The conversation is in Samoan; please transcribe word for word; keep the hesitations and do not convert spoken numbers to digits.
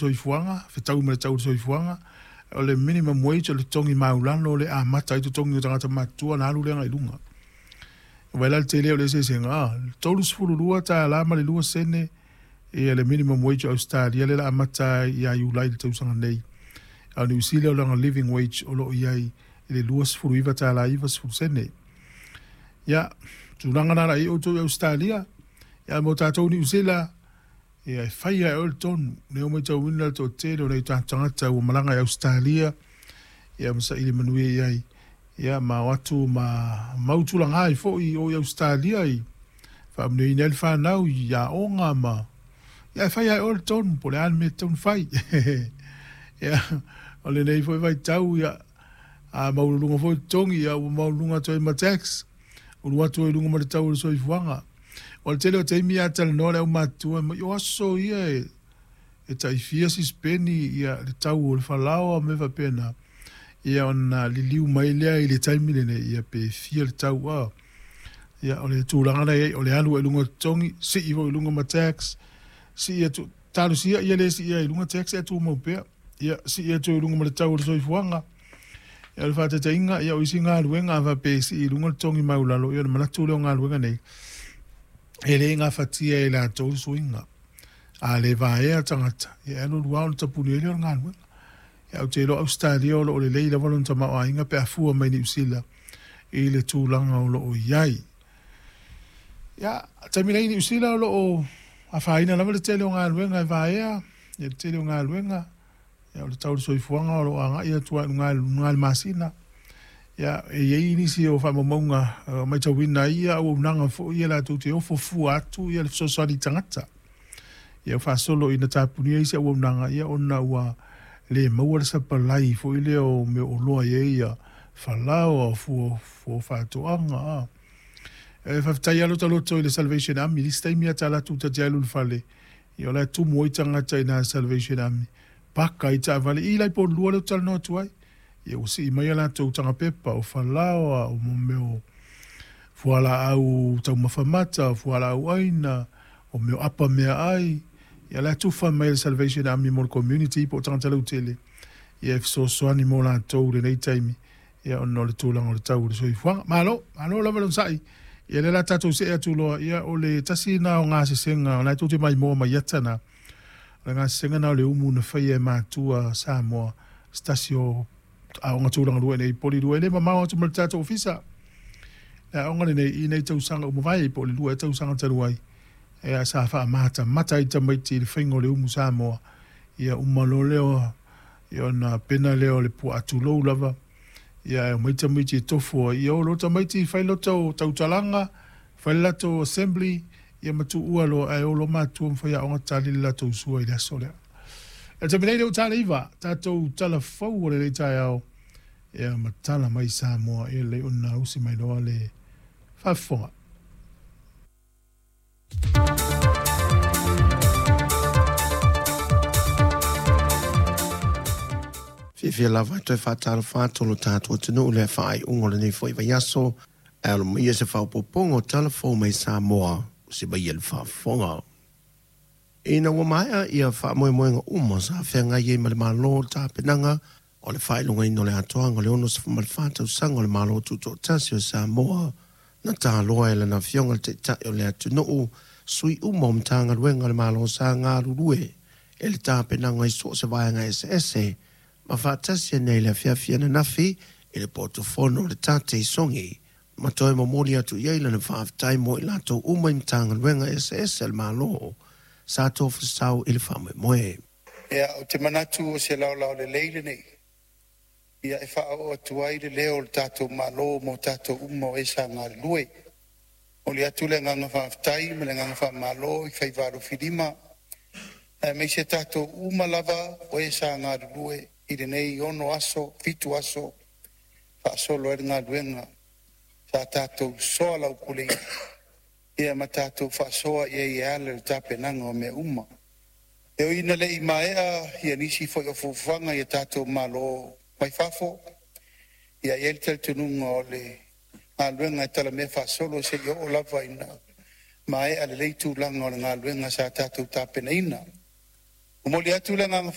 Soifuaga, fetaui ma le tau o le soifuaga. O le minimum wage o le totogi maulalo o le amata ai totogi o tagata matutua ona alu lea agai i luga. Vaai la le tele o le eseesega, a, tolu sefulu lua tala ma le lua sene ia le minimum wage o Ausetalia lea o le a amata ai ia Iulai i le tausaga nei. A o Niu Sila o lana living wage o lo o i ai i le lua sefulu iva tala iva sefulu sene. Ia, tulaga na la i ai outou i Ausetalia, ia mo tatou Niu Sila, ia e fai lava e oe le tonu. O lea ua matauina le toatele o nai o tatou tagata ua malaga i Ausetalia, ia ma saili manuia i ai, ia ma o atu ma mau tulaga ai foi i o i Ausetalia i faamanuiaina ai le fanau i aoga ma ia e fai lava e oe le tonu po o le a le mea e tatau ona fai. Ia, o lenei foi vaitau, ia, a maualuluga foi totogi, ia ua maualuluga atu ai ma tax, ulu atu ai i luga ma le tau o le soifuaga. O le tele o taimi a talanoa le aumatutua mai, o aso ia e, e tai fia sisipeni ia le tau o le falaoa ma mea faapena, ia ona liliu mai lea i le taimi lenei, ia pe fia le tau a. Ia o le tulaga la e i ai, o le alu ai i luga o totogi, sii foi i luga ma tax, sii atu, talosia ia le siia ai i luga tax ae tumau pea. Ia sii atu ai i luga ma le tau o le soifuaga. Ia o le faataitaiga, ia o isi galuega a faapea e sii i luga le totogi maulalo, ia ona manatu lea o galuega nei, e le gafatia e latou le suiga. A le vaea tagata, ia e alu alu lava ona tapuni ai lea o le galuega. Ia ou te iloa Ausetalia o lo o lelei lava lona tamaoaiga pe a fua mai Niu Sila i le tulaga o lo o i ai. Ia, taimi nei i Niu Sila o lo o afaina lava le tele o galuega e vaea, ia le tele o galuega, ia o le tau o le soifuaga o lo o agai atu lava i luga i luga i le masina. Ia, e i ai nisi o faamaumauga o matauina ai ia auaunaga foi ia latou te ofo fua atu ia le fesoasoani i tagata. Ia ua faasolo ina tapunia isi auaunaga ia ona ua le maua le sapalai foi lea o mea o oloa e i ai ia falaoa, o fua, fua o faatoaga. A. E faafetai lava lota loto i le Salvation Army. I le isi taimi lava ta alu atu ta te alu i le fale, ia o la e tumu ai tagata i ina i le Salvation Army, paka ai taavale. I la i Pololua lea ou te talanoa atu ai. Ia ua sii mai a latou taga pepa, o falaoa, o mea o fualaau taumafa mata, o fualaau aina, o mea o apa meaai. Ia la e tufa mai e le Salvation Army mo le community po o tagata lautele, ia e fesoasoani mo latou i lenei taimi, ia ona o le tulaga o le tau o le soifuaga. Malo, malo lava le onosai. Ia lea o le a tatou see atu loa, ia o le tasi lena o gasesega, o lena tou te maimoa mai ata na. O le gasesega lena o le umu na faia e matua Samoa, se tasi o aoga tulaga lua i inei i Porirua. E le mamao atu ma le tatou ofisa. Le aoga lenei i nei tausaga ua mavae po o le lua ea tausaga talu ai, ia sa faamatamata ai tamaiti i le faiga o le umu Samoa. Ia uma loa lea, ia ona pena lea o le puaa tulou lava, ia ae omai tamaiti e tofu ai. Ia o loa tamaiti fai lota tautalaga, fai le latou assembly, ia ma tuua loa, ae o loa matua ma faiaoga tali le latou sua i le aso lea. I le taimi nei lea ua ta le iva, tatou tala fou o lenei taeao, ia ma tala mai Samoa, ia lelei ona usi mai loa le faafofoga. Fiafia lava e toe faatalofa atu lo tatou atunuu i le faaiuga o lenei foi vaiaso, ae alo mai se faaopoopoga o tala fou mai Samoa, usi mai le faafofoga. Ina ua maea ia faamoemoega uma sa feagai ai ma le Malo le tapenaga o le faailogaina o le atoaga o le ono sefulu ma le fa tausaga o le Malo Tutoatasi o Samoa, na taloa e lana afioga le Taitai o le atunuu sui uma o Matagaluega a le Malo sa galulue e le tapenaga i so o se vaega eseese ma faatasi ai nei le afiafi ananafi i le potofono o le Tate i Sogi ma toe momoli atu i ai lana faafetai mo i latou uma i Matagaluega eseese a le Malo sa tofasau i le faamoemoe. Ia, ou te manatu o se laolao lelei lenei, ia e faaoo atu ai le leo o le tatou Malo mo tatou uma o e sa galulue. Momoli atu le agaga faafetai ma le agaga faamalo i faiva alofilima aemaise tatou uma lava o e sa galulue i lenei ono aso, fitu aso faasolo ai le galuega sa tatou soalaupuleina ia ma tatou faasoa i ai e ala i le tapenaga o mea uma. E ui ina le i maea ia nisi foi o fuafuaga i a tatou malo mai fafo, ia e i ai le talitonuga o le galuega e talamea faasolo seia oo lava ina maea lelei tulaga o le galuega sa tatou tapenaina. Momoli atu le agaga.